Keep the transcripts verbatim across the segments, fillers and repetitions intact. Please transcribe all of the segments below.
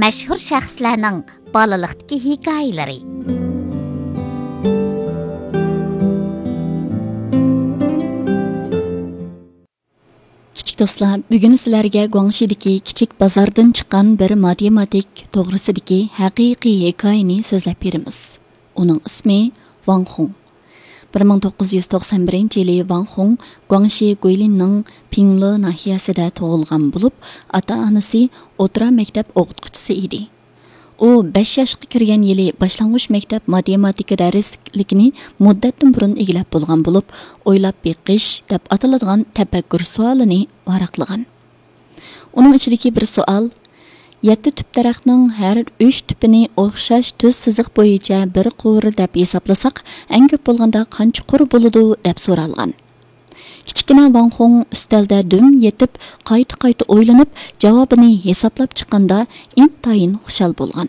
مەشھۇر شەخسلەرنىڭ بالىلىقتىكى ھېكايىلىرى. كىچىك دوستلار، بۈگۈن سىلەرگە گۇاڭشىدىكى كىچىك بازاردىن چىققان بىر ماتېماتىك توغرىسىدىكى ھەقىقىي ھېكايىنى سۆزلەپ بېرىمىز. ئۇنىڭ ئىسمى ۋاڭ خۇڭ. بىر مىڭ توققۇز يۈز توقسان بىرىنچى يىلى ۋاڭ خۇڭ گۇاڭشى گۇيلىننىڭ پىڭلې ناھىيەسىدە تۇغۇلغان بولۇپ، ئاتا-ئانىسى ئوتتۇرا مەكتەپ ئوقۇتقۇچىسى ئىدى. ئۇ بەش ياشقا كىرگەن يىلى باشلانغۇچ مەكتەپ ماتېماتىكا دەرسلىكىنى مۇددەتتىن بۇرۇن ئىگىلەپ بولغان بولۇپ، ئويلاپ بېقىش دەپ ئاتىلىدىغان تەپەككۇر سوئالىنى ۋاراقلىغان. ئۇنىڭ ئىچىدىكى بىر سوئال، يەتتە تۈپ دەرەخنىڭ ھەر ئۈچ تۈپىنى ئوخشاش تۈز سىزىق بويىچە بىر قۇر دەپ ھېسابلىساق، ئەڭ كۆپ بولغاندا قانچە قۇر بولىدۇ؟ دەپ سورالغان. كىچىككىنە ۋاڭ خۇڭ ئۈستەلدە دۈم يېتىپ، قايتا-قايتا ئويلىنىپ، جاۋابىنى ھېسابلاپ چىققاندا، ئىنتايىن خۇشال بولغان.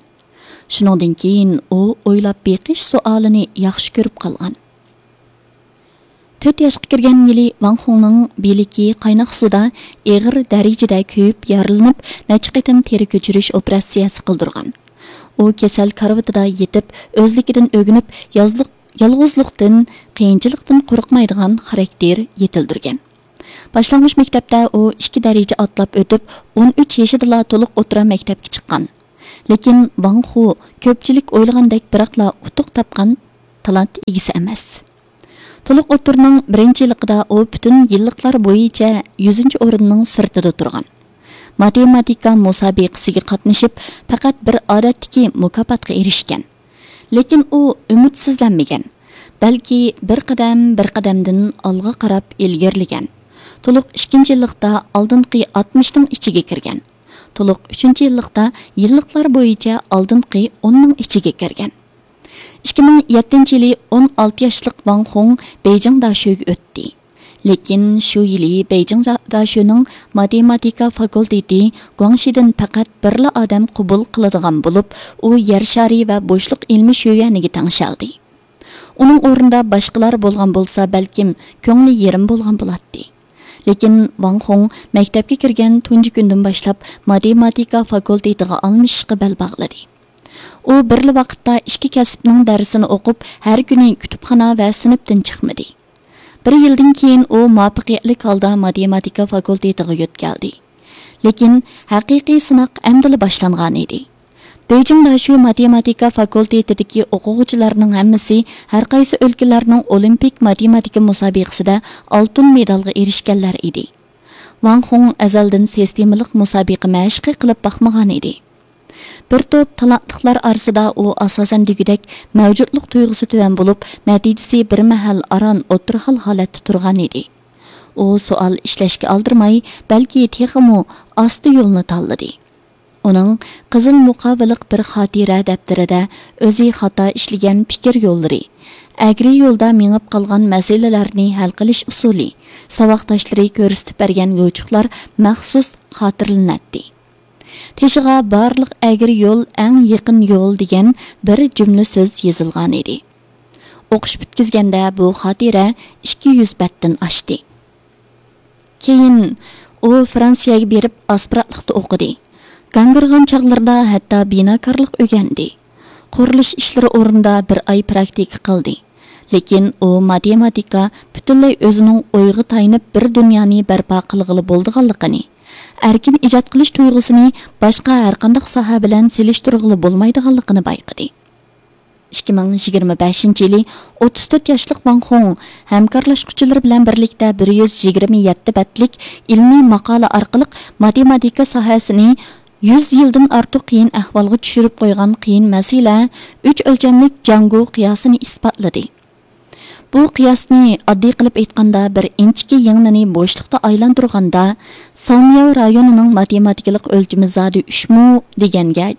شۇنىڭدىن كېيىن ئۇ ئويلاپ بېقىش سوئالىنى ياخشى كۆرۈپ قالغان. تۆت ياشقا كىرگەن يىلى ۋاڭ خۇڭنىڭ بىلىكى قايناق سۇدا ئېغىر دەرىجىدە كۆيۈپ يارىلىنىپ، نەچچە قېتىم تېرە كۆچۈرۈش ئوپېراتسىيەسى قىلدۇرغان. ئۇ كېسەل كارىۋىتىدا يېتىپ، ئۆزلۈكىدىن ئۆگىنىپ، يازلىق-، يالغۇزلۇقتىن، قىيىنچىلىقتىن قورقمايدىغان خاراكتېر يېتىلدۈرگەن. باشلانغۇچ مەكتەپتە ئۇ ئىككى دەرىجە ئاتلاپ ئۆتۈپ، ئون ئۈچ يېشىدىلا تولۇق ئوتتۇرا مەكتەپكە چىققان. لېكىن ۋاڭ خۇ كۆپچىلىك ئويلىغاندەك بىراقلا ئۇتۇق تاپقان تالانت ئىگىسى ئەمەس. تولۇق ئوتتۇرىنىڭ بىرىنچى يىللىقىدا ئۇ پۈتۈن يىللىقلار بويىچە يۈزىنچى ئورۇننىڭ سىرتىدا تۇرغان. ماتېماتىكا مۇسابىقىسىگە قاتنىشىپ، پەقەت بىر ئادەتتىكى مۇكاپاتقا ئېرىشكەن. لېكىن ئۇ ئۈمىدسىزلەنمىگەن، بەلكى بىر قەدەم بىر قەدەمدىن ئالغا قاراپ ئىلگىرىلىگەن. تولۇق ئىككىنچى يىللىقتا ئالدىنقى ئاتمىشنىڭ ئىچىگە كىرگەن. تولۇق ئۈچىنچى يىللىقتا يىللىقلار بويىچە ئالدىنقى ئوننىڭ ئىچىگە كىرگەن. ئىككى مىڭ يەتتىنچى يىلى ئون ئالتە ياشلىق ۋاڭ خۇڭ بېيجىڭ داشۆگە ئۆتتى. لېكىن شۇ يىلى بېيجىڭ جا-، داشۆنىڭ ماتېماتىكا فاكۇلتېتى گۇاڭشىدىن پەقەت بىرلا ئادەم قوبۇل قىلىدىغان بولۇپ، ئۇ يەر شارى ۋە بوشلۇق ئىلمىي شۆيۈەنىگە تەڭشەلدى. ئۇنىڭ ئورنىدا باشقىلار بولغان بولسا، بەلكىم كۆڭلى يېرىم بولغان بولاتتى. لېكىن ۋاڭ خۇڭ مەكتەپكە كىرگەن تۇنجى كۈندىن باشلاپ ماتېماتىكا فاكۇلتېتىغا ئالمىشىشقا بەل باغلىدى. ئۇ بىرلا ۋاقىتتا ئىككى كەسىپنىڭ دەرسىنى ئوقۇپ، ھەر كۈنى كۇتۇپخانا ۋە سىنىپتىن چىقمىدى. بىر يىلدىن كېيىن ئۇ مۇۋەپپەقىيەتلىك ھالدا ماتېماتىكا فاكۇلتېتىغا يۆتكەلدى. لېكىن ھەقىقىي سىناق ئەمدىلا باشلانغان ئىدى. بېيجىڭ داشۆ ماتېماتىكا فاكۇلتېتىدىكى ئوقۇغۇچىلارنىڭ ھەممىسى ھەرقايسى ئۆلكىلەرنىڭ ئولىمپىك ماتېماتىكا مۇسابىقىسىدە ئالتۇن مېدالغا ئېرىشكەنلەر ئىدى. ۋاڭ خۇڭ ئەزەلدىن سىستېمىلىق مۇسابىقە مەشىقى قىلىپ باقمىغان ئىدى. بىر توپ تالانتلىقلار ئارىسىدا ئۇ ئاساسەن دېگۈدەك مەۋجۇتلۇق تۇيغۇسى تۆۋەن بولۇپ، نەتىجىسى بىر مەھەل ئاران ئوتتۇرا ھال ھالەتتە تۇرغان ئىدى. ئۇ سوئال ئىشلەشكە ئالدىرىماي، بەلكى تېخىمۇ ئاستا يولنى تاللىدى. ئۇنىڭ قىزىل مۇقاۋىلىق بىر خاتىرە دەپتىرىدە ئۆزى خاتا ئىشلىگەن پىكىر يوللىرى، ئەگرى يولدا مېڭىپ قالغان مەسىلىلەرنى ھەل قىلىش ئۇسۇلى، ساۋاقداشلىرى كۆرسىتىپ بەرگەن يوچۇقلار مەخسۇس خاتىرىلىنەتتى. تېشىغا «بارلىق ئەگرى يول ئەڭ يېقىن يول» دېگەن بىر جۈملە سۆز يېزىلغانىدى. ئوقۇش پۈتكۈزگەندە بۇ خاتىرە ئىككى يۈز بەتتىن ئاشتى. كېيىن ئۇ فرانسىيەگە بېرىپ ئاسپىرانتلىقتا ئوقۇدى. گاڭگىرىغان چاغلىرىدا ھەتتا بىناكارلىق ئۆگەندى. قۇرۇلۇش ئىشلىرى ئورنىدا بىر ئاي پراكتىكا قىلدى. لېكىن ئۇ ماتېماتىكا پۈتۈنلەي ئۆزىنىڭ ئويىغا تايىنىپ بىر دۇنيانى بەرپا قىلغىلى بولىدىغانلىقىنى، ئەركىن ئىجاد قىلىش تۇيغۇسىنى باشقا ھەرقانداق ساھە بىلەن سېلىشتۇرغىلى بولمايدىغانلىقىنى بايقىدى. ئىككى مىڭ يىگىرمە بەشىنچى يىلى ئوتتۇز تۆت ياشلىق ۋاڭ خۇڭ ھەمكارلاشقۇچىلىرى بىلەن بىرلىكتە بىر يۈز يىگىرمە يەتتە بەتلىك ئىلمىي ماقالە ئارقىلىق ماتېماتىكا ساھەسىنى يۈز يىلدىن ئارتۇق قىيىن ئەھۋالغا چۈشۈرۈپ قويغان قىيىن مەسىلە، ئۈچ ئۆلچەملىك جاڭگو قىياسىنى ئىسپاتلىدى. بۇ قىياسنى ئاددىي قىلىپ ئېيتقاندا، بىر ئىنچىكە يىڭنىنى بوشلۇقتا ئايلاندۇرغاندا، ساۋمياۋ رايونىنىڭ ماتېماتىكىلىق ئۆلچىمى زادى ئۈچمۇ دېگەنگە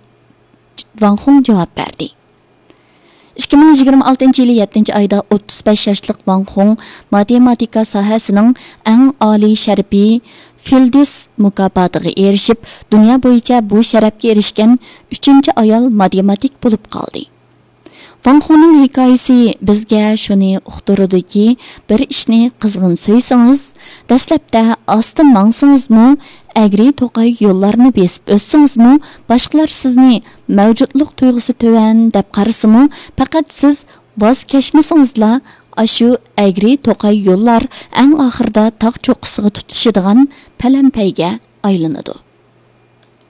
ۋاڭ خۇڭ جاۋاب بەردى. ئىككى مىڭ يىگىرمە ئالتىنچى يىلى يەتتىنچى ئايدا ئوتتۇز بەش ياشلىق ۋاڭ خۇڭ ماتېماتىكا ساھەسىنىڭ ئەڭ ئالىي شەرىپى فىلدىس مۇكاپاتىغا ئېرىشىپ، دۇنيا بويىچە بۇ شەرەپكە ئېرىشكەن ئۈچىنچى ئايال ماتېماتىك بولۇپ قالدى. ۋاڭ خۇنىڭ ھېكايىسى بىزگە شۇنى ئۇقتۇرىدۇكى، بىر ئىشنى قىزغىن سۆيسىڭىز، دەسلەپتە ئاستا ماڭسىڭىزمۇ، ئەگرى توقاي يوللارنى بېسىپ ئۆتسىڭىزمۇ، باشقىلار سىزنى مەۋجۇتلۇق تۇيغۇسى تۆۋەن دەپ قارىسىمۇ، پەقەت سىز ۋاز كەچمىسىڭىزلا، ئاشۇ ئەگرى توقاي يوللار ئەڭ ئاخىرىدا تاغ چوققىسىغا تۇتىشىدىغان پەلەمپەيگە ئايلىنىدۇ.